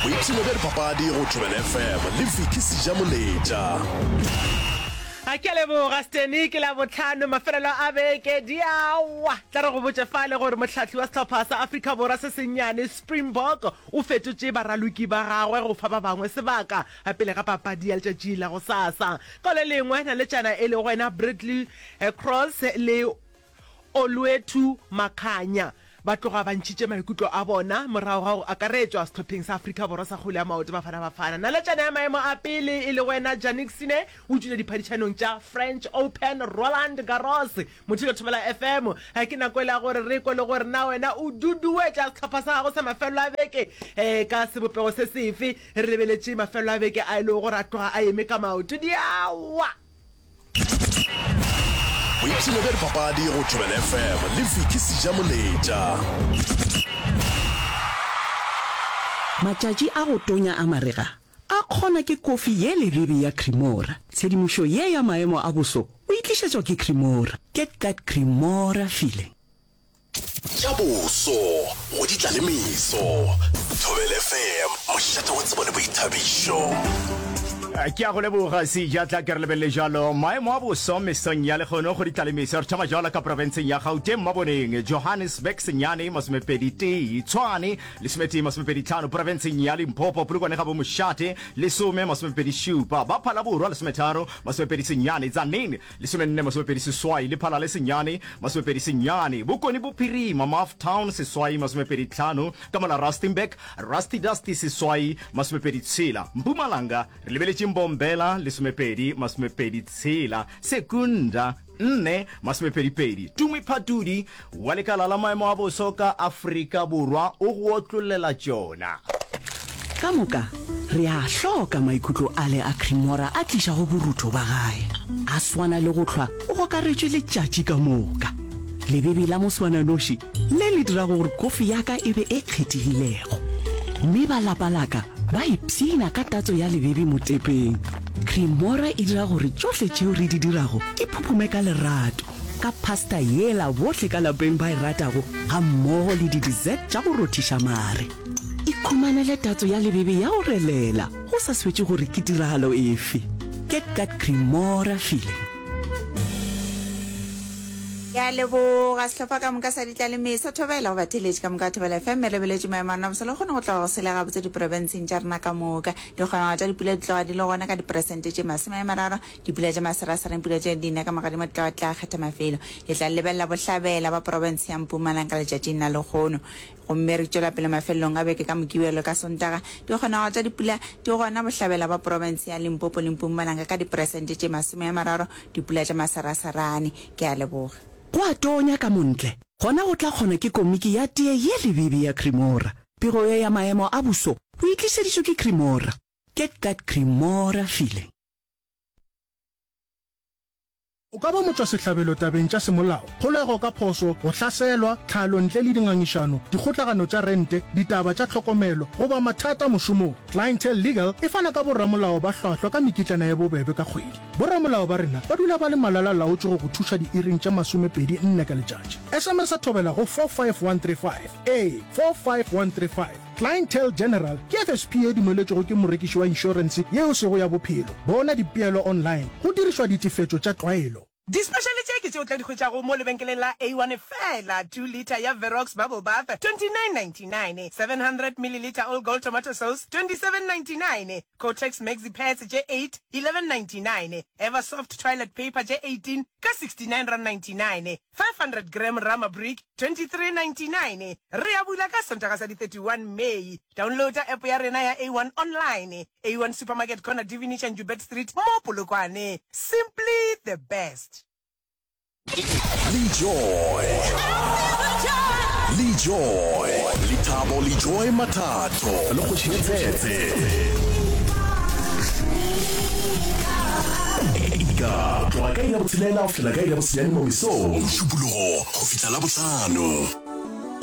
Boipshino bja dipapadi go Thobela FM le Vicky Sejamoletša. A ke a leboga Steny, ke Labohlano, mafelelo a beke di a wa. Tla re go botše fale gore mohlahli wa sehlopha sa Afrika Borwa se sennyane, Springbok, o fetotše baraloki ba gagwe go fa ba bangwe sebaka pele ga papadi ya letšatši la gosasa. Ka le lengwe, naletšana e lego yena Bradley Cross le Olwethu Makhanya ba tloga ba ntšhitše maikutlo a bona morago ga go akaretšwa sehlopheng sa Afrika Borwa sa kgwele ya maoto Bafana Bafana. Naletšana ya maemo a pele e lego yena Jannik Sinner o tšwile diphadišanong tša French Open Roland Garros. Mothilo Thobela FM, ke nako yela ya gore re kwe le gore na wena o duduetša sehlopha sa gago sa mafelelo a beke ka sebopego se sefe. Re lebeletše mafelelo a beke a e lego gore a tloga a eme ka maoto diawa. Boipshino bja dipapadi go Thobela FM le Vicky Sejamoletša. Matšatši a go tonya a marega a kgona ke kofi ye lebebe ya Cremora. Tshedimošo ye ya maemo a boso o e tlišetšwa ke Cremora. Get that Cremora feeling. Tša boso go di tla le meso. Thobela FM, mošate wa tsebo le boithabišo. Ke a go leboga Seja, tla ke re lebelele jalo maemo a boso mesong ya lekgono go di tla le meso. Re thoma jalo ka profenseng ya Gauteng, Maboneng, Johannesburg, senyane masomepedi tee, Tshwane lesometee masomepedi tlhano, profenseng ya Limpopo, Polokwane ga bo mošate lesome masomepedi šupa, ba Phalaborwa lesometharo masomepedi senyane, Tzaneen Lesomenne masomepedi seswai, Lephalale senyane masomepedi senyane, Bokone Bophirima, Maftown seswai masomepedi tlhano, ka mola Rustenburg, Rusty Dusty seswai masomepedi tshela, Mpumalanga re lebeletše Mbombela lesomepedi masomepedi tshela, Secunda nne masomepedi pedi. Tumi Phatudi wa lekala la maemo a boso ka Afrika Borwa o go otlollela tšona. Ka moka re a hloka maikutlo ale a Cremora a tlišago borutho ba gae. A swana le go hlwa o gokaretšwe letšatši ka moka. Lebebe la moswananoši le le dirago gore kofi ya ka e be e kgethegilego. Mme ba lapa la ka ba ipshina ka tatso ya lebebe motepeng. Cremora e dira gore tšohle tšeo re di dirago di phuphume ka lerato. Ka pasta yela bohle ka lapeng ba e ratago gammogo le di-dessert tša go rothiša mare. Ikhumanele tatso ya lebebe ya go relela go sa swetše gore ke tiragalo efe. Get that Cremora feeling. Ke a leboga sehlopha ka moka sa Ditlalemesa. Thobela go batheeletši ka moka ba Thobela FM. Re lebeletše maemo a rena bosa le kgone go tloga go sele gabotse diprofenseng tša rena ka moka. Dikgonagalo tša dipula di tloga di le gona ka diperesente tše 30. Dipula tša maserasera, pula tše di na ka magadimo di tla ba tla kgetha mafelo. Le tla lebelela bohlabela ba profense ya Mpumalanga letšatšing la lehono. Gomme re tšwela pele mafelelong a beke ka Mokibelo ka Sontaga. Dikgonagalo tša dipula di gona bohlabela ba profense ya Limpopo le Mpumalanga ka diperesente tše 30, dipula tša maseraserane. Ke a leboga. Go a tonya ka montle, gona go tla kgona ke komiki ya tee ye lebebe ya Cremora. Pego ye ya maemo a boso o e tlišeditšwe ke Cremora. Get that Cremora feeling. O ka ba motšwasehlabelo tabeng tša semolao, kgolego ka phošo, go hlaselwa, tlhalo ntle le dingangišano, dikgotlagano tša rente, ditaba tša tlhokomelo, goba mathata mošomong. Clientele Legal e fana ka boramolao ba hlwahlwa ka mekitlana ye bobebe ka kgwedi. Boramolao ba rena ba dula ba le malala-laotšwe go go thuša diiring tše masomepedi nne ka letšatši. SMS-a thobela go 45135. Ee, 45135. Clientele General ke FSP ye dumeletšwego ke morekiši wa inšorense ye e sego ya bophelo. Bona dipeelo online go dirišwa ditefetšo tša tlwaelo. Dispešale tše ke tše o tla di hwetšago mo lebenkeleng la A1 feela, 2 litre ya Verox Bubble Bath, 29.99, 700 millilitre All Gold Tomato Sauce, 27.99, Kotex Maxi Pads tše 8, 11.99, Eversoft Toilet Paper tše 18 ka 69.99, 500 gram Rama Brick, 23.99. Re a bula ka Sontaga sa di 31 May. Downloada app ya rena ya A1 online. A1 Supermarket corner Divinisha Njubert Street mo Polokwane. Simply the best. Lejoy Lejoy Lethabo Lejoy Mathatho le Kgoši Tshetse Ka tloga ka iri ya botshelela go fihlela ka iri ya bosenyane mo mesong Mošupologo go fihla Labohlano.